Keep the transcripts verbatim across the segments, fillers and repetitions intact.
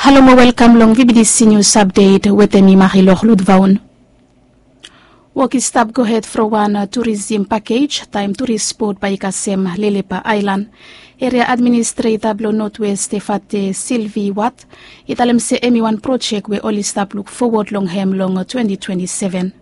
Halo mo welkam long V B D C News Update wetem mi Marilor Ludvaun. Wok i stap gohed from wan turisim pakej taem turis bot bae i kasem Lelepa Aelan. Eria administreta blong Notwest Tefate Silvi Wat i talem se hemi wan projek we oli stap luk fowod long hem long twenti twenti seven.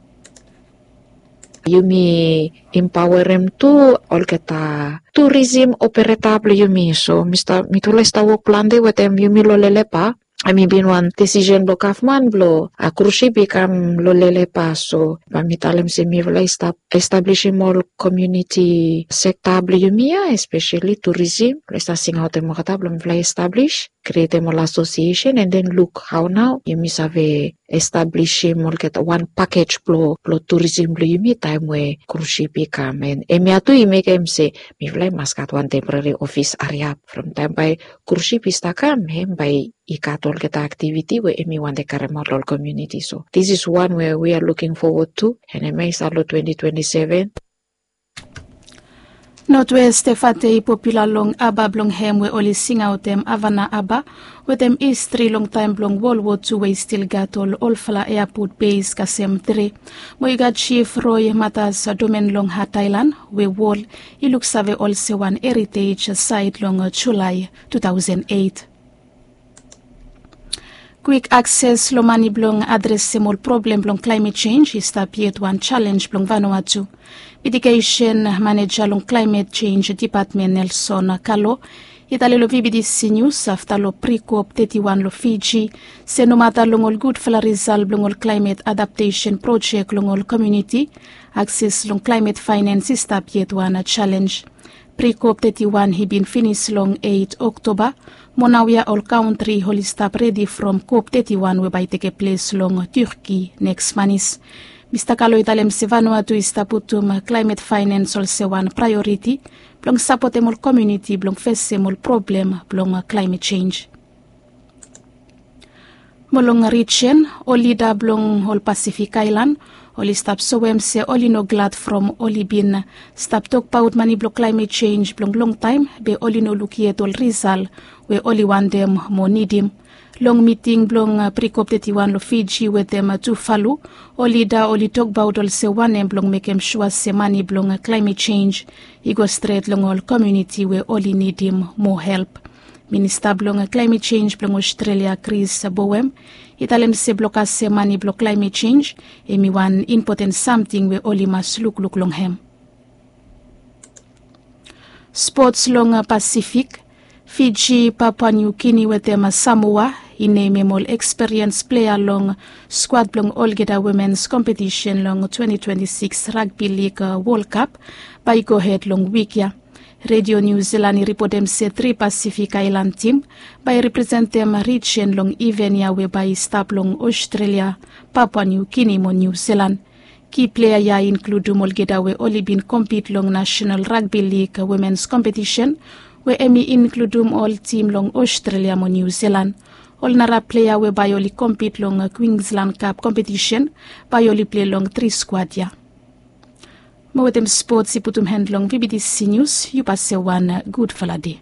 Yumi empaoerem tu olgeta turisim opereta blong yumi. So mitufala i stap wok plante wetem yumi long Lelepa. Hemi bin wan disisen blong gavman blong krusip i kam long Lelepa. So bae mi talem se mifala i stap establisim ol komuniti sekta blong yumi ya, espeseli turisim, blong i stap singaotem olgeta blong mifala i establis, krietem ol asosiesen, and then luk hao nao yumi save establisim olgeta wan pakej blong turisim blong yumi taem we krusip i kam. And hemia tu i mekem se mifala i mas gat wan temporari ofis hariap from taem bae krusip i stap kam, hem bae i gat olgeta aktiviti we hemi wantem karemaot long ol komuniti. So this is one we we are looking forward to, and hemia i stap long twenti twenti seven. Notwest Tefate i popula long haba blong hem we oli singaotem Havana Haba, wetem histri long taem blong Wol Wo Tu we i stil gat ol olfala eapot beis kasem tre. Mo i gat Jif Roi Matas Domen long Hat Aelan we wol i luksave olsem wan heritej saet long Julae tu taosen eit. Kwik akses long mane blong adresem ol problem blong klaemet jenj i stap yet wan jalenj blong Vanuatu. Mitigesen maneja long klaemet jenj dipatmen Nelson Kalo i talem long V B D C Nius afta long Prikop teti wan long Fiji se nomata long ol gudfala risal blong ol klaemet adaptesen projek long ol komuniti, akses long klaemet faenens i stap yet wan jalenj. Prikop teti wan i bin finis long eit Oktoba, mo naoia ol kantri oli stap redi from Kop teti wan we bae i tekeples long Turki neks manis. Mista Kalo i talem se Vanuatu i stap putum klaemet faenens olsem wan praeoriti blong sapotem ol komuniti blong fesem ol problem blong klaemet jenj. Mo long rijen, ol lida blong ol Pasifik aelan oli stap soem se oli no glad from oli bin stap tokbaot mane blong klaemet jenj blong longtaem be oli no luk yet ol risal we oli wantem mo nidim. Long miting blong Prikop teti wan long Fiji wetem Tuvalu, ol lida oli tokbaot olsem wanem blong mekem sua se mane blong klaemet jenj i go stret long ol komuniti we oli nidim moa help. Minista blong klaemet jenj blong Ostrelia Chris Bowen i talem se blong kasem mane blong klaemet jenj hemi wan impoten samting we oli mas lukluk long hem. Spots long Pasifik, Fiji, Papua New Guinea wetem Samoa i nemem ol eksperiens plea long skwad blong olgeta womens kompetisen long twenti twenti sikis Ragbi Lig Wol Kap bae i gohed long wik ya. Redio Niu Zilan i ripotem se tri Pasifik aelan tim bae i representem rijen long iven ya we bae i stap long Ostrelia, Papua Niu Gini mo Niu Zilan. Ki plea ya i inkludum olgeta we oli bin kompit long Nasenal Ragbi Lig Womens Kompetisen we hemi inkludum ol tim long Ostrelia mo Niu Zilan. Ol nara plea we bae oli kompit long Kwinslan Kap kompetisen bae oli plei long tri skwad ya. Mo wetem spots i putum han long V B D C Nius, yu pasem wan gudfala dei.